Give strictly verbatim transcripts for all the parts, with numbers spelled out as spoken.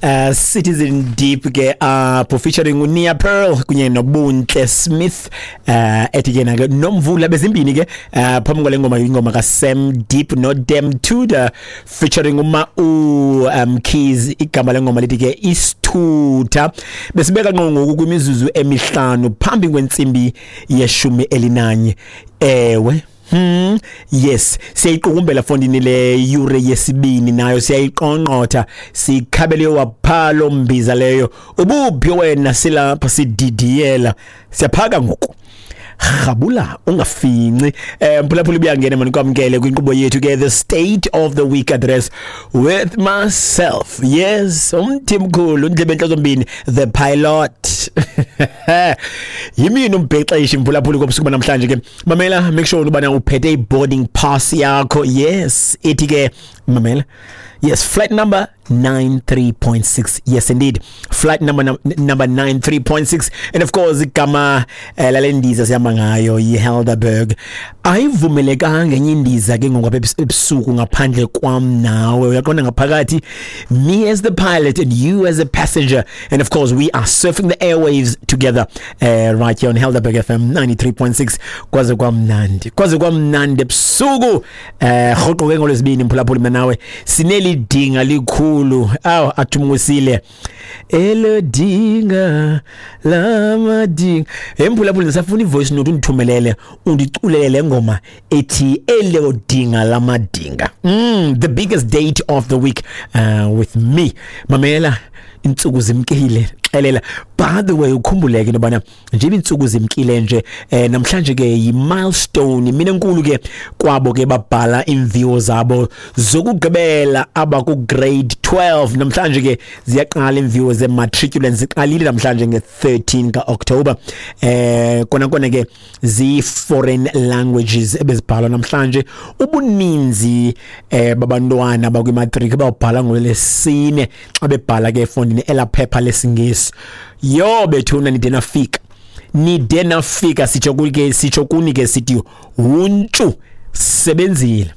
uh, Citizen Deep ke apho, uh, featuring uNia Pearl kunye noBuntle Smith, uh, ethi ke nake Nomvula. Bezimbini ke uh, phambi kwale ngoma, ingoma kaSam Deep noDem Tudor featuring uma u um, Keys. Igama lengoma lithi ke Isithutha. Besibeka ngqo ngoku kwimizuzu emihlanu phambi kwentsimbi yeshumi elinanye. Ewe, Hmm yes, siyayiqukumbela fondini le yure yesibini, nayo siyayiqonqotha, sikhabele waphalo mbiza leyo. Ubuphi wena? Silapha sididiyela, siyaphaka ngoku. Rhabula, ungafinci. eh mphulaphula, ubuyangena mani, kwamkele kwinkqubo yethu ke, The State of the Week Address with myself, yes, umthimkhulu, undlebe enhlozombini, the pilot, yimini umbhexeshi. Mphulaphula, kobusuku namhlanje ke, mamela, make sure ubana uphethe i-boarding pass yakho. Yes, ithi ke, mamela, yes, flight number ninety-three point six. Yes indeed, flight number number ninety-three point six, and of course igama eh, lale ndiza sihamba ngayo yiHelderberg. Ayivumelekanga enye indiza ke ngoku apha ebusuku ngaphandle kwam nawe. Uyaqonda, ngaphakathi me as the pilot and you as a passenger, and of course we are surfing the airwaves together uh, right here on Helderberg F M ninety-three point six. Kwaze kwamnandi, kwaze kwamnandi ebusuku. Eh rhoqo ke ngolwesibini, mphulaphuli, mina nawe sinelidinga likhulu. Aw, athumkusile elodinga lamadinga. Emphulaphuli, ndisafuna ivoice note, undithumelele, undiculele le ngoma ethi Elodinga Lamadinga. mm, the biggest date of the week uh, with me. Mamela, intsuku zimkile, xelela. By the way, ukhumbuleke into yobana njengoba iintsuku zimkile nje, eh namhlanje ke yi-milestone mina enkulu ke kwabo ke babhala imviwo zabo zokugqibela abaku grade twelve. Namhlanje ke ziyaqala imviwo ze-matriculants, ziqalile namhlanje nge-thirteen ka-October. eh kona kona ke zi-foreign languages ebezibhalwa namhlanje. Ubuninzi eh babantwana bakwimatric bawubhala ngolwesine xa bebhala ke efondini elaphepha lesiNgesi. Yo bethuna, nide nafika, nide nafika. Sitsho ke, sitsho kuni ke, sithi huntshu, sebenzile,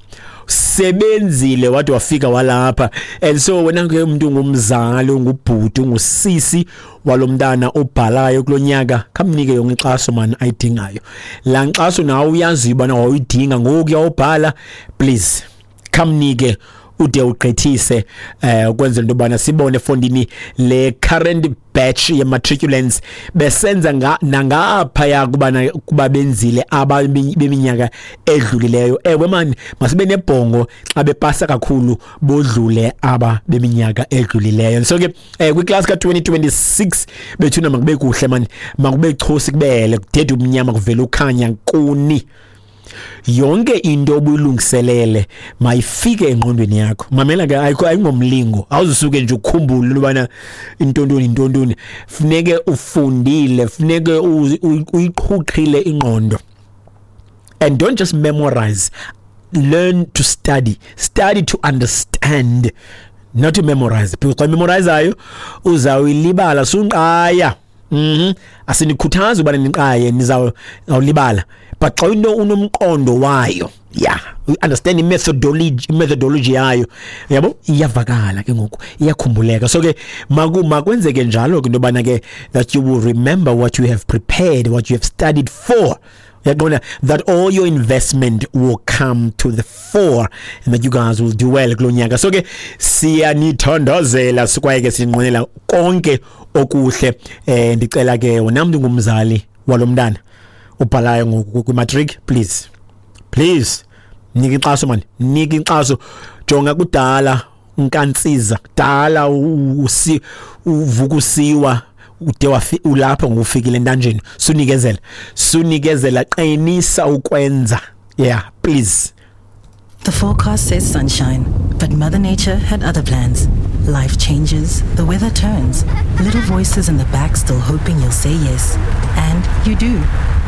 sebenzile, wade wafika walapha. And so wena ke umuntu ungumzali, ungubhuti, ungusisi walomntana obhalayo kulonyaka, khamnike yonke inkxaso man ayidingayo. La nkxaso nawe uyaziyo ubana wawuyidinga ngoku uyawubhala, please khamnike ude ugqithise, eh ukwenzela into yobana sibone efondini le current batch ye-matriculants besenza nga nangaphaya kubana kuba benzile aba beminyaka edlulileyo. Ewe mani, masibe nebhongo xa bepasa kakhulu bodlule aba beminyaka edlulileyo. So ke eh kwiclass ka twenty twenty-six bethuna, makube kuhle mani, makube chosi, kubele kudede umnyama, kuvela ukhanya kuni. Yonke into obuyilungiselele mayifike engqondweni yakho. Mamela ke, ayikho, ayingomlingo, awuzusuke nje ukhumbule ubana intontoni intontoni. Funeke ufundile, funeke uyiqhuqhile ingqondo, and don't just memorize. Learn to study, study to understand, not to memorize, because xa memorizayo uzawuyilibala. Sunqaya. mhm asinikhuthazi ubana niqaye, nizawulibala, but xa into unomqondo wayo, yeah, you understand i-methodology methodology yayo, yabo, iyavakala ke ngoku, iyakhumbuleka. So ke maku makwenzeke njalo ke into yobana ke that you will remember what you have prepared, what you have studied for. Uyaqonda, that all your investment will come to the fore and that you guys will do well kulo nyaka. So ke siyanithandazela, sikwaye ke sinqwenela konke okuhle. eh ndicela ke wena mntu ngumzali walomntana ubhalayo ngoku kwimatric, please, please nika inkxaso man, nika inkxaso. Jonga, kudala unkantsiza, kudala usi uvuka usiwa, ude wafi ulapha ngokufikile entanjeni. Sunikezela, sunikezela, qinisa ukwenza. Yeah, please. The forecast says sunshine, but Mother Nature had other plans. Life changes, the weather turns, little voices in the back still hoping you'll say yes. And you do.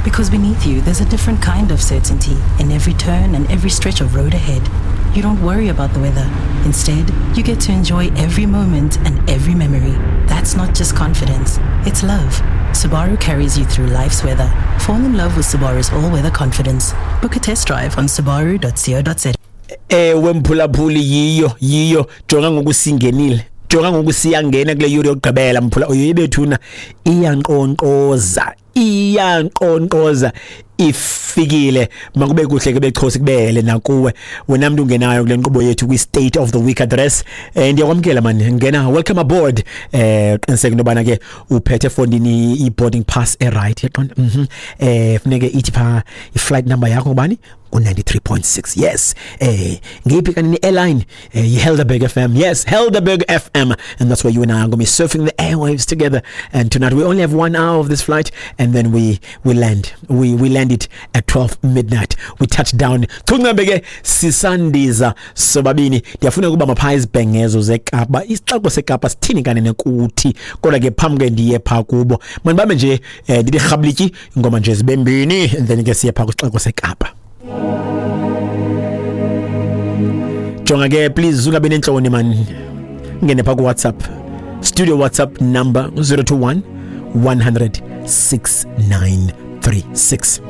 Because beneath you, there's a different kind of certainty in every turn and every stretch of road ahead. You don't worry about the weather. Instead, you get to enjoy every moment and every memory. That's not just confidence, it's love. Subaru carries you through life's weather. Fall in love with Subaru's all-weather confidence. Book a test drive on subaru dot co dot za. Ewe mphulaphuli, yiyo, yiyo. Jonga ngoku, singenile. Jonga ngoku siyangena kule yure yokugqibela, mphula uyibethuna, iyanqonqoza, iyanqonqoza, ifikile. Makube kuhle ke bechosi, kubele nakuwe wena mntu ungenayo kule nkqubo yethu kwi-State of the Week Address. eh ndiyakwamkela mani, ngena, welcome aboard. eh qiniseka into yobana ke uphethe efondini i-boarding pass e-right, yaqonda? mhm eh funeke ithi pha i-flight number yakho ngubani? Ku ninety-three point six, yes. eh ngeyiphi kanini airline? eh yi-Helderberg F M, yes, Helderberg F M, and that's where you and I are going to be surfing the airwaves together. And tonight we only have one hour of this flight, and then we we land we we land it at twelve midnight. We touch down. Chungambe ke sisandiza sobabini. Ndiyafuna ukuba mapha izibhengezo zeKapa, isixeko seKapa sithini kanene kuthi. Kodwa ke phambi ke ndiye pha kubo, mandibambe nje, eh, ndithi rhablityi ingoma nje zibe mbini, and then ke siye pha kwisixeko seKapa. Jonga ke, please ungabi nentloni man, ngene pha ku WhatsApp studio, WhatsApp number zero two one one hundred six nine three six.